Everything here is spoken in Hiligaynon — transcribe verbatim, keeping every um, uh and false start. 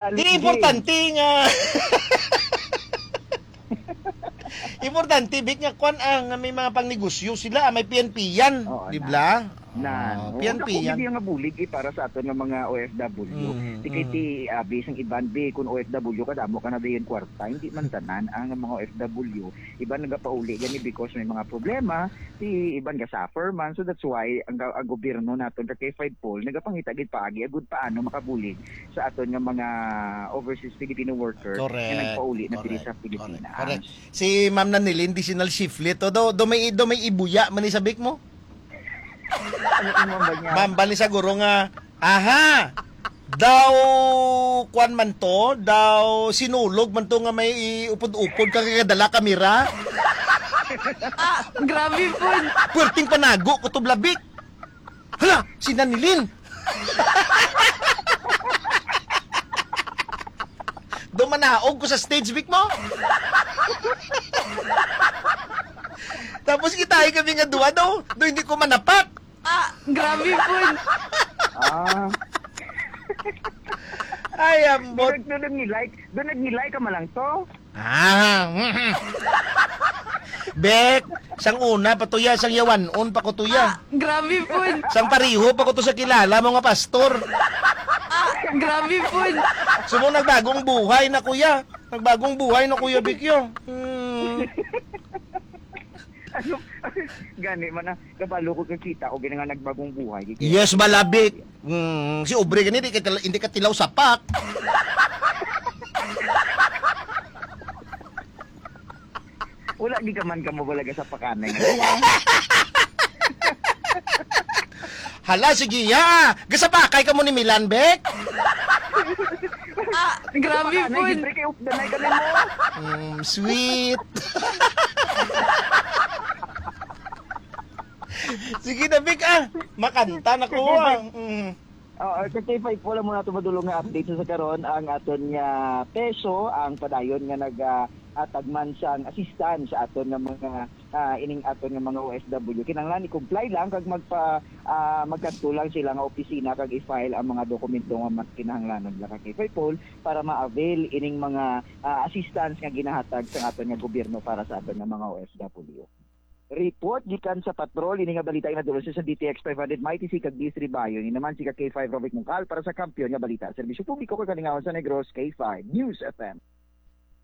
Di importante nga importante, Vic, nga kwan, ah, nga may mga pangnegosyo sila, ah, may P N P yan, Oo, di na. Ba? Nan. Oo, Oo, P N P dako yan. Gid nga bulig, eh, para sa aton nga mga O F W. Mm, di kay mm. Ti, ah, bisang iban, bi, kung O F W ka, damo ka na dayon kwarta. Hindi man tanan ang mga O F W. Iban nagapauli gani because may mga problema, ti iban ga-suffer man. So that's why ang, ang gobyerno naton, ka K five Paul, nagapangita gid paagi agud paano makabulig sa aton nga mga overseas Filipino worker nga Correct. Nagpauli na diri Correct. Sa Pilipinas. Correct. Si Ma'am Nanilin, di sinal shiflet to. Do, do may, do may ibuya man ni sa Vic mo? Ano, ano ba niya? Ma'am, bali siguro nga, aha, daw, kwan man to, daw sinulog man to nga may upod-upod ka kay dala kamera. Ah, grabe po. Puwerteng panago ko to, Bla Vic. Hala, si Nanilin. Dumanaog ko sa stage, Vic mo. Tapos kita ay kami nga duwa daw, do hindi ko manapak. Ah, grabe po. Ah. Ay, ambot. Doon, doon nag-like, doon nag-like ka man lang to. Ah, mhm. Bek, sang una pa to ya, sang yawanon pa ko to ya. Ah, grabe po. Sang pariho pa ko to sa kilala mo nga pastor. Ah, grabe po. Sumo nagbagong buhay na, kuya. Nagbagong buhay na, Kuya Bikyo. Hmm. Ano? Gani man na, kabalo ko kakita ko gina nga nagbagong buhay. Yes, balabik. Mm, si Obre gani, di ka tila-, hindi ka tilaw sapak. Wala, di ka man ka mawala ka sa pakanay nga. Hala, sige, ya. Gasapakay ka mo ni Milan, Bek? Ah, grabe Pakanay, po. Siyempre, kay updanay ka nimo. Mm, sweet. Sige na, Bek, ah. Makanta na ko, ah. Mm. Oo, sa K five po lang muna ito madulong nga update sa karon ang aton nga peso, ang padayon nga nag, ah, atag man sang assistance sa aton nga mga, ah, ining aton nga mga O F W. Kinahanglan i-comply lang kag magpa, ah, magkadto lang sila nga opisina kag i-file ang mga dokumento nga mas kinahanglanon nila kay Faipol para ma-avail ining mga, ah, assistance nga ginahatag sa aton nga gobyerno para sa aton nga mga O F W. Report gikan sa Patrol, ini nga balita ginadulong sa D T X five hundred, Mighty C kag D S three Bayo. Ini naman si ka K five Rovic Mungkal para sa Kampiyon nga Balita, Serbisyo Publiko kag Kalingawan sa Negros, K five News F M.